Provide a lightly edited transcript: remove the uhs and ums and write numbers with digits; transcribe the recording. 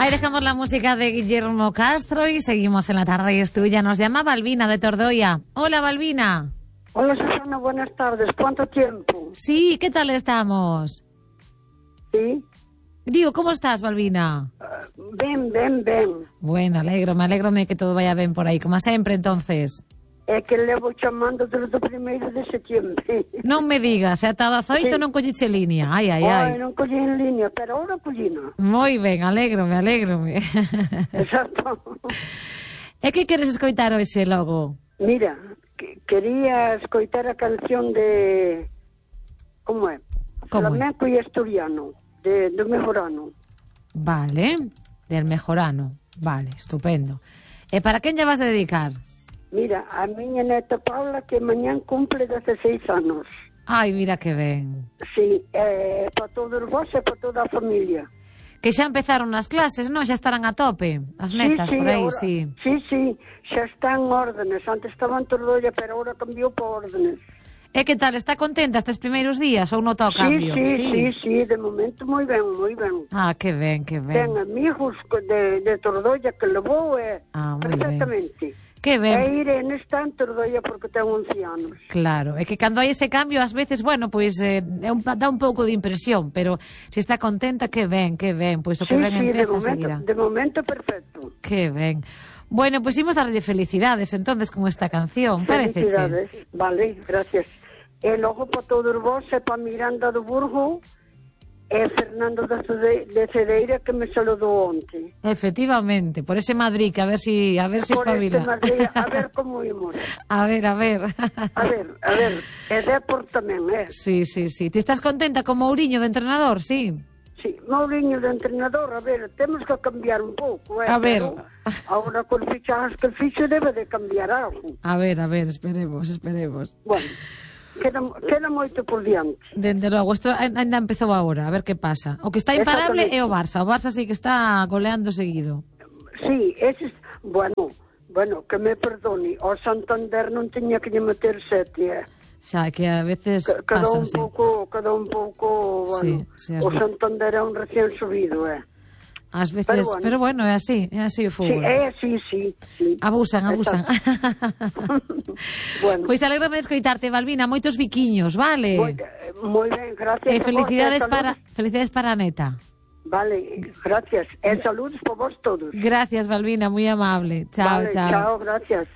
Ahí dejamos la música de Guillermo Castro y seguimos en La Tarde es Tuya. Nos llama Balbina de Tordoya. Hola, Balbina. Hola, Susana, buenas tardes. ¿Cuánto tiempo? Sí, ¿qué tal estamos? Sí. Digo, ¿cómo estás, Balbina? Ben. Bueno, me alegro de que todo vaya bien por aí, como sempre, entonces. É que levo chamando desde o 1º de setembro. Non me digas, ata das 8 Sí. non colliche liña. Ai. Non collí en línea, pero ahora collina. Moi ben, alégrome. Exacto. E que queres escoitar hoxe logo? Mira, quería escoitar a canción de... Como é? Como é? Flamenco e asturiano, do Mejorano. Vale, del Mejorano. Vale, estupendo. E para quen lle vas a dedicar? Mira, a miña neta Paula, que mañán cumple 16 anos. Ai, mira que ben. Sí, para todos vos e para toda a familia. Que xa empezaron as clases, non? Xa estarán a tope, as netas, por aí, ahora, sí. Sí, xa están órdenes. Antes estaban Tordolla, pero ahora cambiou por órdenes. E que tal, está contenta estes primeiros días ou nota o cambio? Sí, de momento moi ben. Ah, que ben. Ten amigos de Tordolla que levou perfectamente. Que ben. E Irene está en Tordolla porque ten 11 anos. Claro, é que cando hai ese cambio, ás veces, bueno, pois dá un pouco de impresión, pero se está contenta, que ben, pois o que ben empeza seguirá. De momento perfecto. Que ben. Bueno, pois imos darlle felicidades entonces con esta canción, parece. Felicidades, vale, gracias. E logo para todos vos e para Miranda do Burgo e Fernando de Cedeira que me saludou onte. Efectivamente, por ese Madrid, que a ver si espabila. Por este Madrid, a ver como imos. A ver. A ver, e Depor tamén, Sí. Ti estás contenta con Mourinho de entrenador, sí? Sí, Mourinho de entrenador, a ver, temos que cambiar un pouco, A ver. Agora con fichajes que el ficho debe de cambiar algo. A ver, esperemos. Bueno, queda moito por diante. Dende logo, isto ainda empezou agora, a ver que pasa. O que está imparable é o Barça. O Barça sí que está goleando seguido. Sí, bueno, que me perdone. O Santander non teña que lle meter 7, Xa, que a veces Quedou pasan, un pouco, bueno, Sí, o Santander é un recién subido, Ás veces, pero bueno, é así o fútbol. Sí. Abusan. Bueno. Pois alégrome de escoitarte, Balbina, moitos biquiños, vale? Moi ben, gracias. E felicidades para a neta. Vale, gracias. E saludos por vos todos. Gracias, Balbina, moi amable. Chao. Chao, gracias.